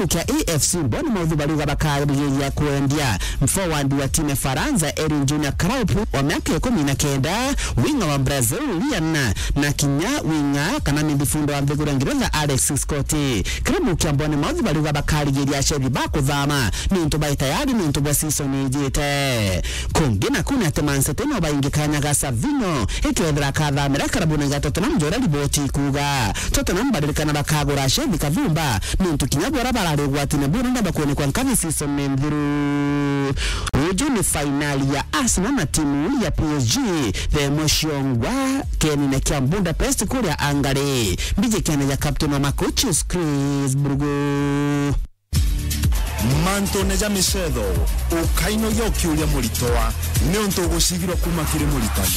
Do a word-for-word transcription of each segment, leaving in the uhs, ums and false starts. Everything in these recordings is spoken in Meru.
kia A F C Bournemouth bariuga bakarigiria kwendia forward wa timu ya Faransa Erin Junior Kraup wa miaka ikumi na kenda, winger wa Brazil Lian na kinya winger kana midfielder wa nthiguru ya Ngeretha Alex Scott. Klabu kia Bournemouth bariuga bakarigiria achethi ba kuthama niuntu bai tayari niuntu bwa season ijite. Kungi naku ni ati Man City no baingi kanya ga Savinho ikethira akathamira karabuni ga Tottenham, ja uria riboti ikuuga. Tottenham baririkana bakagura achethi kathumba niuntu kinya bora barari ugwatine buru nda bakuonekwa nkathi season ni nthiru. Uju ni fainali ya Arsenal na timu ya P S G, the Moshongwa kenine kia Budapest kuria Hungary. Mbiji kiana ja captain wa Makuchis Chris Brugu. Mantune ja micetho, ukainogia ukiuria muritoa, niuntu ugucigirwa kuma kiri muritani.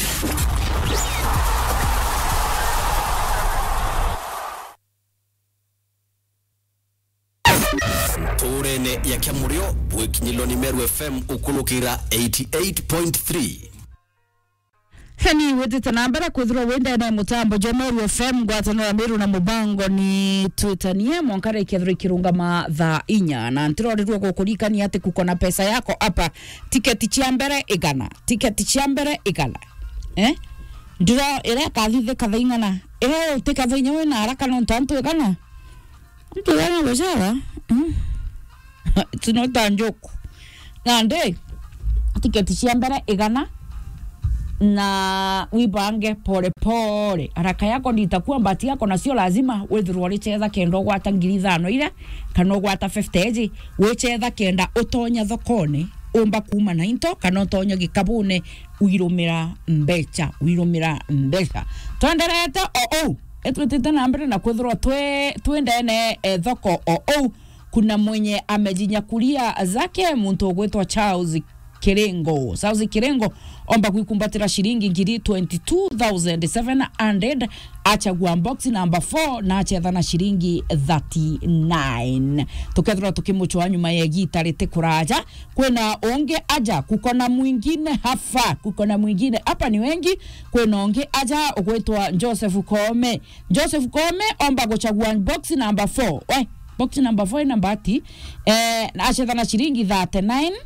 Nturene ya Kiamurio, bwikinyilwa ni Meru F M ukulukira eighty eight point three. Heni witite na mbere kwithirwa wi ndene ya mutambo jwa Meru F M, ngwataniro ya Meru na mubango ni Twitanie, mwanka rikethirwa ikirungama thaa inya. Na ntirorirwe gukurikania ati kuko na pesa yako hapa, tiketi cia mbere igana, tiketi cia mbere igana. Eh? Ndiro iria ikathithika thaa ing'ana? Eh, utikethwa inya wina haraka nontu antu igana? Antu igana gucera? Mm. It's not a joke. Nandi, tiketi cia mbere igana, na wibange pole pole. Haraka yako nditakuwa mbati yako, nacio lazima withirwa urichetha kenda ugwata ngiri ithano iria, kana ugwata fifty eji, wichetha kenda utonya thokone, umba kuuma na into, kana utonya gikabune, uirumira mbecha, uirumira mbecha. Twenderete o uu, itwitite na mbere na kwithirwa twi, twi ndene e thoko o uu. Kuna mwenye amejinyakulia zake, muntu ugwitwa Charles Kirengo. Charles Kirengo omba gwikumbatira shilingi ngiri twenty-two thousand seven hundred, achagua box number four na achetha na shilingi thirty-nine. Tukethirwa tukimuchwa nyuma ya igita riti kuraja. Kwina ungi aja, kuko na mwingine hapa, kuko na mwingine hapa, ni wengi. Kwina ungi aja ugwitwa Joseph Koome. Joseph Koome omba guchagua box number four. We, box number four ina mbati. Eh, na achetha na shilingi thirty-nine,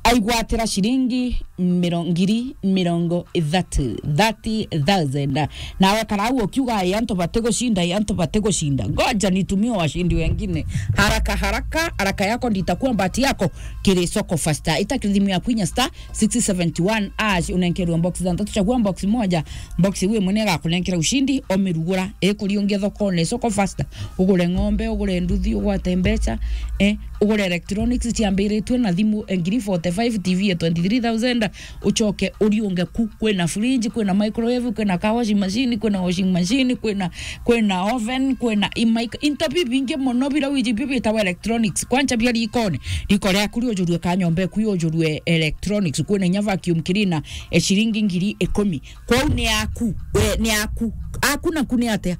aigwatira shilingi miro-, ngiri mirongo ithatu, thirty thousand. Nawe karau ukiuga, "Ai, antu batigucinda, ai, antu batigucinda." Ngoja nitumie washindi wengine. Haraka, haraka, haraka yako nditakuwa mbati yako. Kiri soko faster. Ita kiri thimu yaku inya star six seventy one hash, unenkerwe box thantatu, chagua box moja, box iu imwe niyo igakunenkera ushindi, omirugura, ikuriungia thokone, soko faster, ugure ng'ombe, ugure nduthi, ugwate mbecha, eh, ugure electronics ciambiritwe na thimu, eh, ngiri forty-five, T V ya twenty-three thousand, uchoke uriunge ku, kwina fridge, kwina microwave, kwina car washing machine, kwina washing machine, kwina, kwina oven, kwina i mic-, into bibingi mono bira wiji bio bitagwa electronics. Kwancha bia rikone, riko riaku riujurue ka nyomba eku yujurue electronics, kwina inya vacuum cleaner, e shilingi ngiri ikumi. Kwou ni aku, we, ni aku. Aku naku ni atia?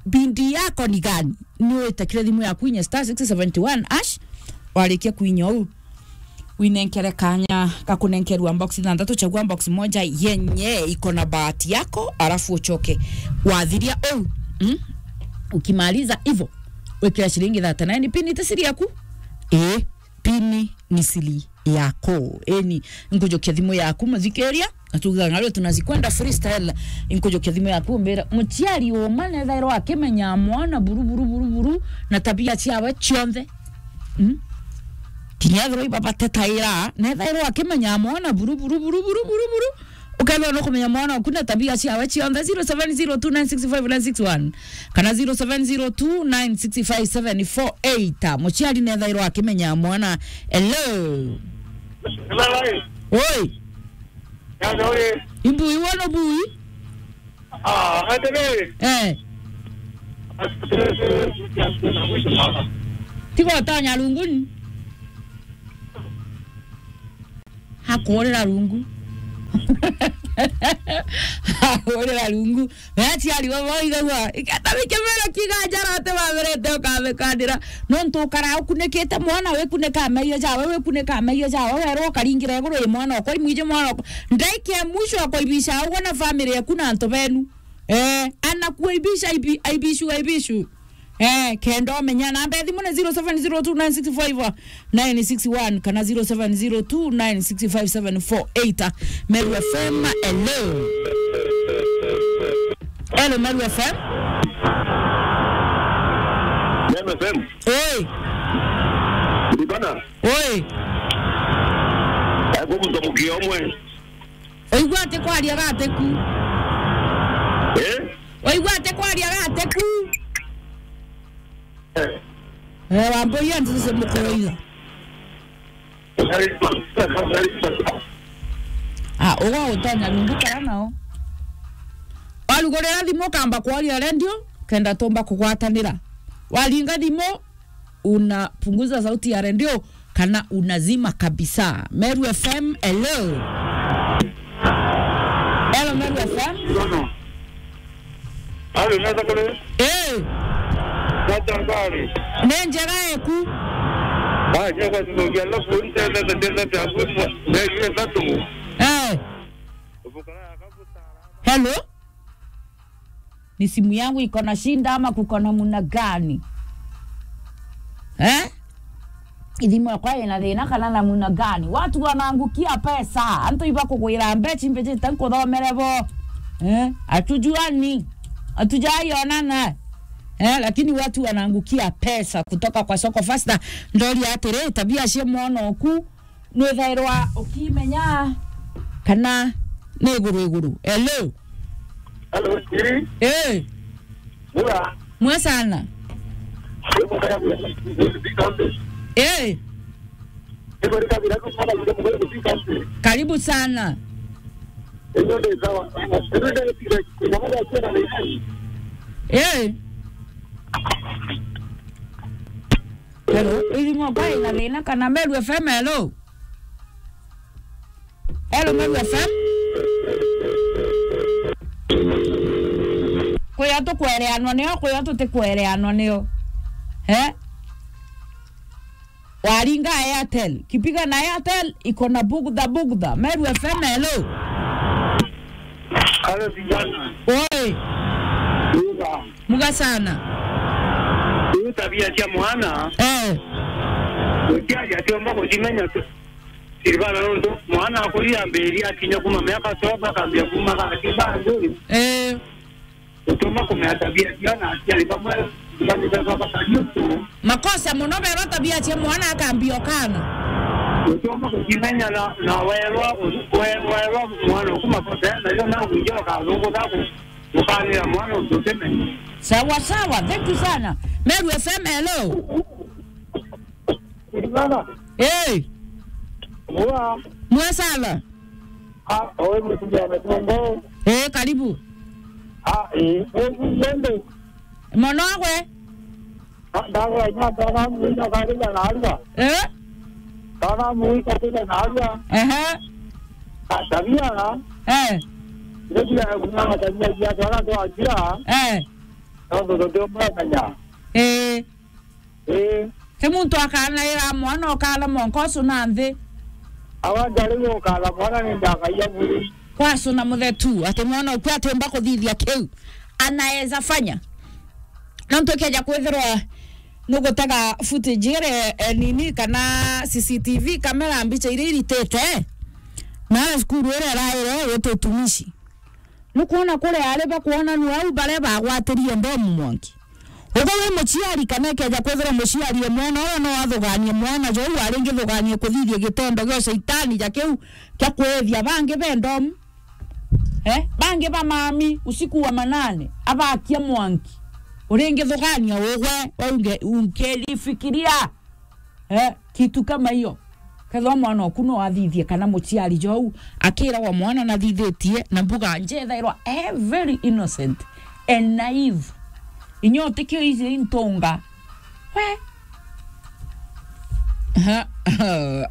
Bindi yako ni gani? Ni witakire thimu yaku inya star six seventy one hash, warikia kuinya uu, winenkere kanya ga kunenkerwa box thantatu, chagua box moja yenye iko na bahati yako, alafu uchoke. Wathiria uu, mm? Ukimaliza hivyo, wikira shilingi thirty-nine, pini ti siri yaku? Ii, pini ni siri yako. Eni, nkujukia thimu yaku, muthikiria, na tugaga ng'ario tunazikwenda freestyle. Nkujukia thimu yaku, mbira, muciari uma nethairwa akimenya mwana buru, buru, buru, buru, na tabia ciawe cionthe. Mm? Kinya ethirwa ibaba tetaira, nethairwa akimenya mwana buru, buru, buru. Ukethirwa nukumenya mwana waku na tabia ciawe cionthe, zero seven zero two nine six five nine six one kana zero seven zero two nine six five seven four eight. Muciari nethairwa akimenya mwana. Hello. Hello. Oi. Hello, eh. Imbui, wono bui? Ah, atene. Eh. Tiga utanya runguni. Hakuurira rungu. Hakuurira rungu. We aciari bo boigagua, ikenda bikimera kiga njara ati bamerete ukamikandira. Nontu ukara ukunikite mwana, wikunika meio jawe, wikunika meio jawe, werwo ukaringira iguru i mwana okwa, imwiji mwana okwa. Ndaika ya mwisho akoibisha ugwe na family yaku na antu benu. Eh, anakuaibisha, aibi-, aibishu, aibishu. Eh, kenda umenya namba ya thimu ni zero seven zero two nine six five nine six one kana zero seven zero two nine six five seven four eight. Meru F M, hello. Hello, Meru F M. Meru F M. Oi. Ndibana. Oi. Ego muntu mukia umwe. Oigua ati kwaria gate ku. Eh? Oigua ati kwaria gate ku. Eh. Eh, wamboia ntuze mukoroiga. Ah, uga utonya rungu kara nao. Warugurira thimu ukamba kwaria redio, kenda tumba kugwatanira. Waringa thimu, unapunguza sauti ya redio kana unazima kabisa. Meru F M, hello. Hello, Meru F M. Halo, unaweza kule? Eh. Natangari. Ni njega eku. Ah, njega tunogia, alafu nitenda, nitenda, nitenda, nitenda, nitenda. Eh. Hello? Ni simu yangu iko na shida ama kuko namna gani? Eh? Ithimu yakwa ina thina kana namna gani? Watu wanaangukia pesa. Antu iba kugwira mbechi, mbechi tankuthomere bo. Eh? Hatujuani. Hatujaionana. Eh, lakini watu wanaangukia pesa kutoka kwa Soko Fasta. Ndoria atiri, tabia cia mwana oku nwithairwa ukimenya kana ni iguru iguru. Hello? Hello, Siri. Eh. Mura. Mwe sana. Eh. Karibu sana. Eh. Hello, irimu kwa ina thina kana Meru F M, hello? Hello, Meru F M? Kuya tukwereanwa nio, kuya tutikwereanwa nio. Eh? Waringa Airtel. Kipiga na Airtel, iko na bugudha, bugudha. Meru F M, hello? Hello, vijana. Oi. Muga sana. Hii tabia cia mwana. Eh. Ukiaja atiomba kujimenya tu. Silvana nontu mwana akuri ambiri akinya kuma miaka twelve akambia kuma gaki bandu. Eh. Utuma kumea tabia cia na aciari bamwe, bamwe baba kariuku. Makosa muno beba tabia cia mwana akambia okana. Utuma kujimenya na, na werwa, we-, werwa mwana uku makosa, na yo na unjo kathungu gaku. Ukanira mwana untu utimenya. Sawa, sawa. Thank you sana. Meru F M, hello. Baba. Hey. Mwa. Mwe sana. Ah, owe mtu ya mtongo. Eh, karibu. Ah, eh, eh, nende. Mono gwe? Ah, ndago ina tana mwina karibu na alwa. Eh? Tana mwika tena na alwa. Ehe. Ah, tabia. Eh. Ndio ya kuna tabia ya tana tu ajira. Eh. Ndio ndio ndio mwana. Eh. Ii. Ti muntu akanaira mwana ukara monka ucuna nthi. Awa njari gukara mwana ni ndakaia mwiri. Kwacuna muthetu, ati mwana uku atiumba kuthithia kiu. Anaweza fanya. Nontu ikeja kwithirwa nugutega footage iri, eh, nini kana C C T V kamera mbicha iria iritite. Na cukuru iria iraire gwita utumishi. Nukwona kuria ari bakwonanua au baria bagwatirie mbomu mwanki. Uga wi muciari kana ikeja kwithirwa muciari e mwana uria no athuganie mwana jou aringithuganie kuthithia gitendo gia shaitani ja kiu kia kwithia bangi be ndomu. Eh? Bangi ba mami usiku wa manane abakia mwanki. Uringithugania ugwe, unge-, unkelifikiria. Eh, kitu kama hiyo. Kethwa mwana oku no athithie kana muciari jou akiragwa mwana nathithitie na mbuga njethairwa, eh, very innocent and naive. Inya utikio ici intunga. We. Ha,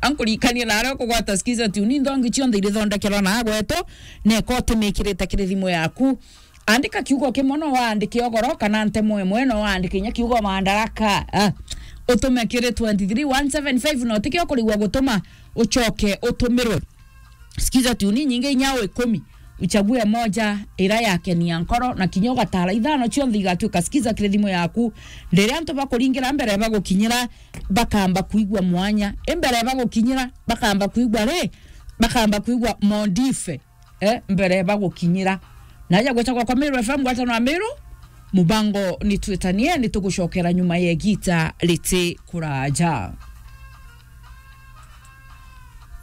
ankurikania na aria ukugwata Skiza Tune, ni nthongi cionthe irithondekerwa na agwetu, na eka utimikirite kiri thimu yaku. Andika kiugo kimwe no waandike ugoro, kana ntemo imwe no waandike inya kiugo Madaraka. Ah. Utume kiri twenty three one seven five, na utikio kurigwa gutuma ucoke utumirwe. Skiza Tune inyingi inya o ikumi. uchague moja ira yakenia nkoro, na kinya ugatara ithano cionthe igatuika skiza kiri thimu yaku. Riria antu bakuringira mbere bagukinyira, bakamba kuigua mwanya. Imbere bagukinyira, bakamba kuigua ri? Bakamba kuigua modife, eh, mbere bagukinyira. Naja gwetagwa kwa Meru F M, ngwatanwa Meru, mubango ni twitanie, ni tugucokera nyuma ya igita riti kuraja.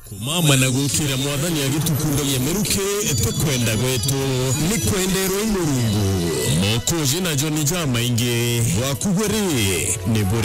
Kumama na gukira Mwathani agitukundagia miruki ti kwenda gwetu, ni kwenderwe i Murungu. Mokoji na Joni jamaingi, bwaku bwe ri, ni buri